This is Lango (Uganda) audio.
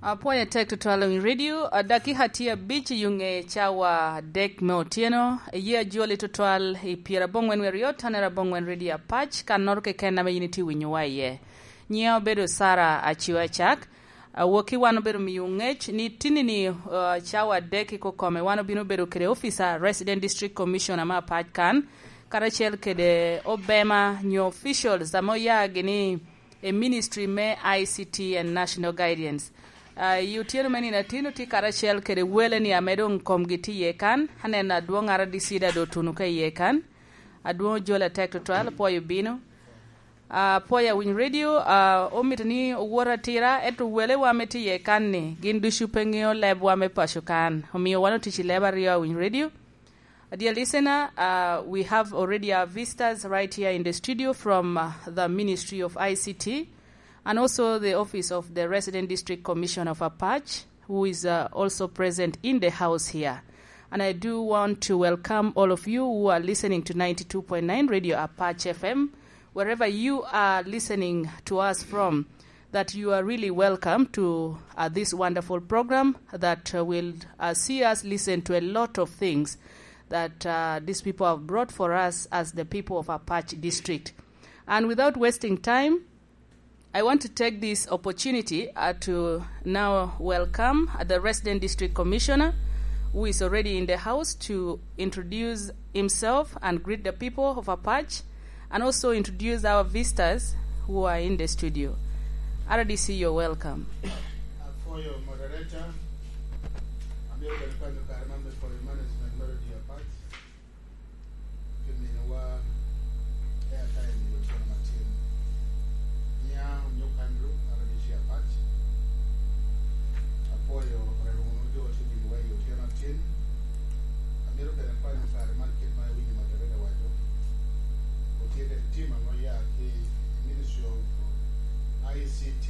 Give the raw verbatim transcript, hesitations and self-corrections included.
Apwoyo atek tutwal i radio, a, dakika tye abic i ŋe cawa adek me otyeno, eye ajoli tutwal i pyeraboŋwen wiye aryo, tanere aboŋwen radio Apac, kannoro keken ame yin itye winyowa iye. Nyiŋa obedo Sara Aciwa Acak. Awokki wan obedo miyo ŋec ni tinini, uh, cawa adek i kokome wan obino bedo kede officer, Resident District Commissioner me Apac kan, karacel kede obema nyo officials ame oya gini i ministry me I C T and National Guidance. Uh, i otyeno me nino atino tye karacel kede wele ni ame doŋ komgi tye iye kan, aneno adwoŋ R D C da do otuno ka iye kan, adwoŋ ojol atek tutwal, apwoyo bino. Ah, apwoyo Awiny Radio, ah, omito ni owot atira, ento welewa ame tye iye kan-ni, gin ducu pe ŋeo lebwa me paco kan. Omio wan otic i leb aryo Awiny Radio. Ah, dear listener, uh, we have already our visitors right here in the studio from, uh, the Ministry of I C T and also the Office of the Resident District Commissioner of Apac, who is, uh, also present in the house here. And I do want to welcome all of you who are listening to ninety-two point nine Radio Apache F M, wherever you are listening to us from, that you are really welcome to, uh, this wonderful program that, uh, will, uh, see us listen to a lot of things that, uh, these people have brought for us as the people of Apache District. And without wasting time, I want to take this opportunity, uh, to now welcome, uh, the Resident District Commissioner, who is already in the house, to introduce himself and greet the people of Apache, and also introduce our visitors who are in the studio. R D C, you're welcome. For your moderator, I'm here to the kare man for your management melody Apache. Pi miniwa airtime i otyeno matin. Nia onyuk Andrew, R D C Apac. Apwoyo rero wunu jo ote bino wa i otyeno atin. Amito bene kwanyo kare man kit ma iwinyo moderator waco. Otye kede tim ame oya ki i Ministry of I C T